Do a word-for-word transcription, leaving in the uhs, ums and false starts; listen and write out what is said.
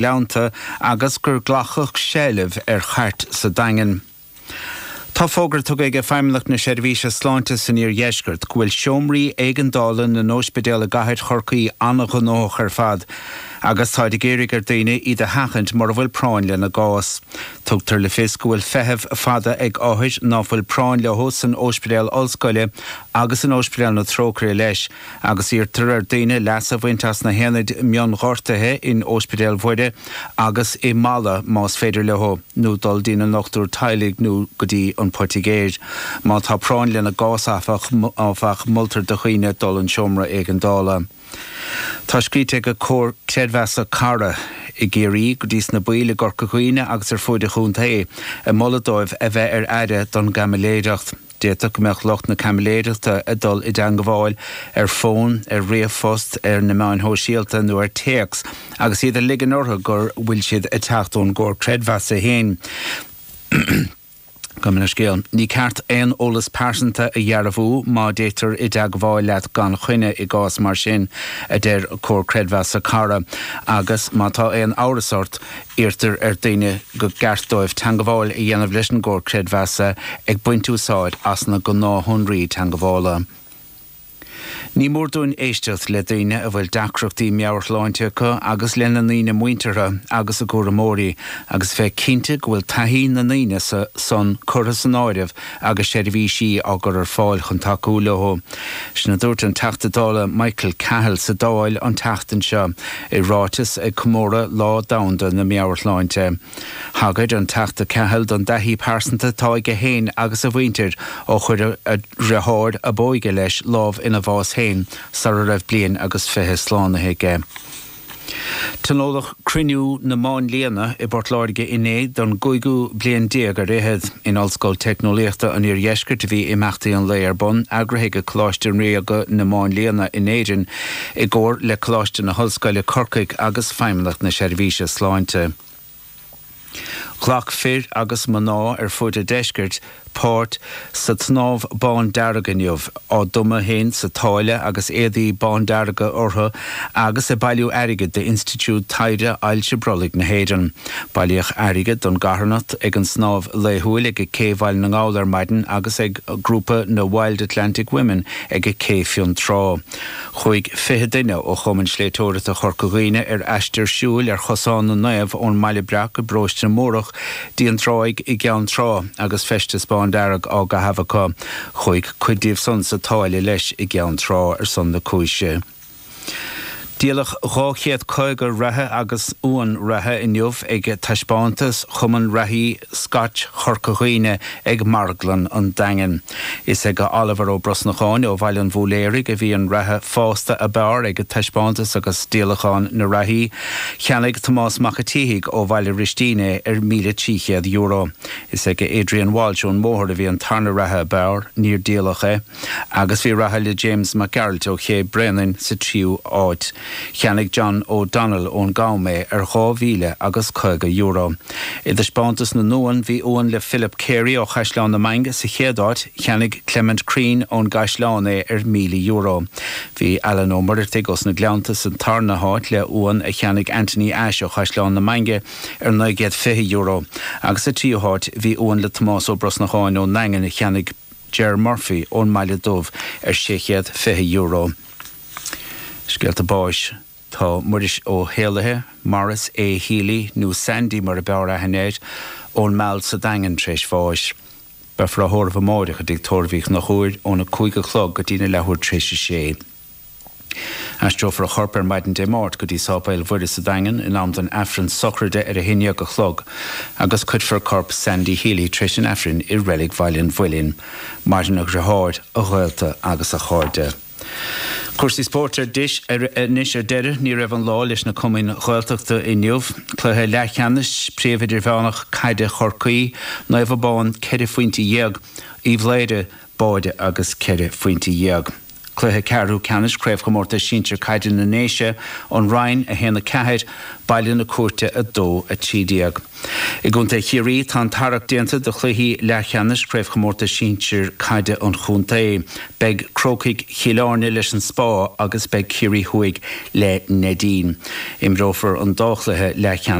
Gleannta agus gur glacadh seilbh ar chairt sa Daingean. Tá fógra tugtha ag Feidhmeannacht na Seirbhíse Sláinte san Iardheisceart go bhfuil seomraí éigeandála na n-ospidéal i gcathair Chorcaí an-ghnóthach ar fad, agus táid ag iarraidh ar dhaoine iad a sheachaint mura bhfuil práinn lena gcás. Tugtar le fios go bhfuil feitheamh fada ag othair ná fuil práinn leo san Ospidéal Ollscoile agus in Ospidéal na Trócaire leis, agus iarrtar ar dhaoine leas a bhaint as na haonaid mionghortuithe in Ospidéal Mhuire agus i Mala más féidir leo, nó dul dtína ndochtúir teaghlaigh nó go dtí an poitigéir. Má tá práinn lena gcás áfach, áfach, moltar do dhaoine dul chun seomra éigeandála. Tá scríte ag Comhar Creidmheasa Cara i gCiarraí go dtí sna baill i gCorca Dhuibhne agus ar fuaid an chontae ag moladh dóibh a bheith ar aire don gcaimiléireacht. D'fhéadfadh go mbeadh lucht na caimiléireachta ag dul i dteangmháil ar fón, ar ríomhphost, ar na meáin shóisialta nó ar téacs agus iad ag ligean orthu go bhfuil siad ag teacht ón gComhar Creidmheasa féin. Gabh mo leithscéal. Ní ceart aon eolas pearsanta a dhearbhú má dtéitear i dteagmháil leat gan choinne i gcás mar sin, a deir Comhar Creidmheasa Cara, agus má tá aon amhras ort, iarrtar ar dhaoine go gceart dóibh teangmháil a dhéanamh leis an gComhar Creidmheasa ag baint úsáid as na gnáthshonraí teangmhála. Ní mór dúinn éisteacht le daoine a bhfuil deacrachtaí meabhairshláinte acu agus lena ndaoine muinteartha agus a gcúramóirí agus bheith cinnte go bhfuil taithí na ndaoine san curtha san áireamh agus seirbhísí á gcur ar fáil chun tacú leo. Sin a dúirt an Teachta Dála Michael Cahill sa Dáil an tseachtain seo i ráiteas ag comóradh Lá Domhanda na Meabhairshláinte. Thagair an Teachta Cahill don dtaithí pearsanta atá aige féin agus a mhuintir ó chuir a dheartháir ab óige leis lámh ina bhás féin sara raibh bliain agus fiche slánaithe aige. Tionóladh Cruinniú na Máinlianna i bPort Láirge inné don gcúigiú bliain déag ar fhichead. In Ollscoil Teicneolaíochta an Iardheiscirt a bhí imeachtaí an lae ar bun, eagraithe ag Coláiste Ríoga na Máinlianna in Éirinn i gcomhar le Coláiste na hOllscoile Corcaigh agus Feidhmeannacht na Seirbhíse Sláinte. Ghlac fir agus mná ar fud an deiscirt páirt sa tsnámh bándearg inniu, á dtumadh féin sa tsáile agus éadaí bándearga orthu agus ag bailiú airgid d'Institiúid Taighde Ailse Brollaigh na hÉireann. Bailíodh airgead don gcarthanacht ag an snámh laethúil ag Cé Bhaile na nGall ar maidin agus ag grúpa na Wild Atlantic Women ag Cé Fionntrá. Chuaigh fiche duine ó Chumann Sléibhteoireachta Chorca Dhuibhne ar aistear siúil ar Chosán na Naomh ón mBaile Breac i bparóiste na Mórdhach dtí an tráigh i gCeann Trá agus feisteas bándearg á gcaitheamh acu. Chuaigh cuid díobh san sa tsáile leis i gCeann Trá ar son na cúise. Díoladh dhá chéad caoga reithe agus uan reithe inniu ag taispeántas Chumann Reithí Scotch Chorca Dhuibhne ag Marglann an Daingin. Is ag Oliver Ó Brosnacháin ó Bhaile an Bhúiléaraigh a bhí an reithe fásta ab fhearr ag taispeántas agus díolachán na reithí. Cheannaigh Tomás Mac a' tSíthigh ó Bhaile Ristín é ar míle trí chéad euro. Is ag Adrian Walsh ón mBóthar a bhí an tarna reithe ab fhearr, níor díoladh é, agus bhí reithe le James Mac Gearailt ó Ché Bréanainn sa tríú háit. Cheannaigh John O'Donnell ón gCam é ar dhá mhíle agus caoga euro. I dtaispeántas na n-uan, bhí uan le Philip Carey ó Chaisleán na Mainge sa chéad áit, cheannaigh Clement Crean ón gCaisleán é ar míle euro. Bhí Alan Ó Muireartaigh ós na Gleannta sa tarna háit le uan a cheannaigh Anthony Ashe ó Chaisleán na Mainge ar naoi gcéad fiche euro. Agus sa tríú háit bhí uan le Tomás Ó Brosnacháin ón nDaingean a cheannaigh Ger Murphy ón mBaile Dubh ar sé chéad fiche euro. Scéalta báis. Tá Muiris Ó hÉalaithe, Maurice A. Healy, nó Sandy mar a b'fhearr aithne air, ón Meall sa Daingean tar éis bháis. Beifear á thórramh amáireach i dTigh Tórraimh Uí Chonchúir óna cúig a chlog go dtína leathuair tar éis a sé. Aistreofar a chorp ar maidin Dé Máirt go dtí Sáipéal Mhuire sa Daingean in am don Aifreann sochraide ar a haon déag a chlog agus cuirfear corp Sandy Healy tar éis an Aifrinn i Reilig Bhaile an Mhuilinn. Maireann a dhriotháir, a ghaolta agus a chairde. Cúrsaí spóirt ar anois ar deireadh. Ní raibh an lá leis na cumainn Ghaeltachta inniu. Cluiche leathcheannais Príomh Idirmheánach Caide Chorcaí, Naomh Abán ceithre phointe dhéag, Uíbh Laoghaire báide agus ceithre phointe dhéag. Cluiche ceathrú ceannais Craobhchomórtas Sinsir Caide na nDéise an Rinn a haon a ceathair, Baile na Cúirte a dó a trí déag. I gContae Chiarraí tá an tarrac déanta do chluichí leathcheannais Craobhchomórtas Sinsir Caide an Chontae. Beidh Crócaigh Chill Airne leis an Spá agus beidh Ciarraí Thuaidh le Neidín. Imreofar an dá chluiche leathcheannais